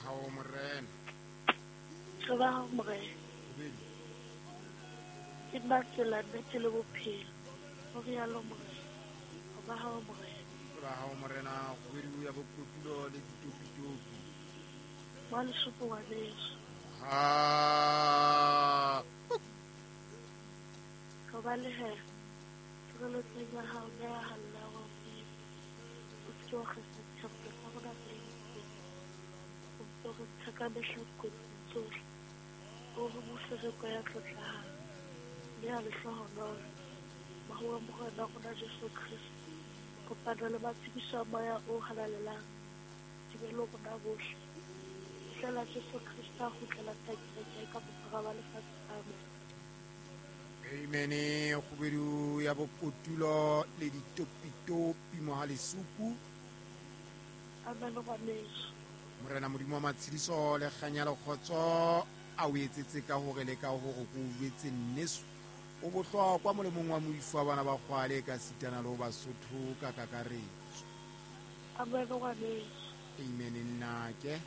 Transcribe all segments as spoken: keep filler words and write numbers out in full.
hao Morena. Re ba hao Morena. Ke nna tsela, nnete le bophelo. Ho rialo Morena. Re ba hao Morena. Re ba hao Morena, kgubedu ya bokotulo le ditopitopi. Wa lesupo ngwaneso. Ha. Re ba le he. Tshireletsong ya hao mme ya halla wa Modimo. O se ke wa kgesa dithapelo tsa rona tse entsweng. O mpe o re ntshe ka mehla dikotsing tsohle. O re mofereko ya tlotlehang mme ya lehlohonolo. Mahu a Morena wa rona Jesu Kreste. Kopano le matshediso a Moya o Halalelang di be le rona bohle. Fihlela Jesu Kreste a kgutlela kereke ka bophara ba lefatshe. Amen. Amen. Kgubedu ya bokotulo le ditopitopi mohalesupu. Amen ngwaneso. Morena Modimo wa matshediso le kganya le kgotso a o etsetse ka hore le ka hore ko o jwetse nneso. O bohlokwa molemong wa moifo wa bana ba kgwale ka sitana le ho Basotho ka kakaretso. Amen ngwaneso. Amen nnake.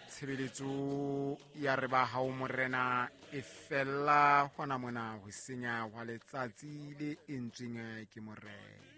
Tshebeletso ya re ba hao Morena e fella hona mona ho senya hwa letsatsi le entsweng ke Morena.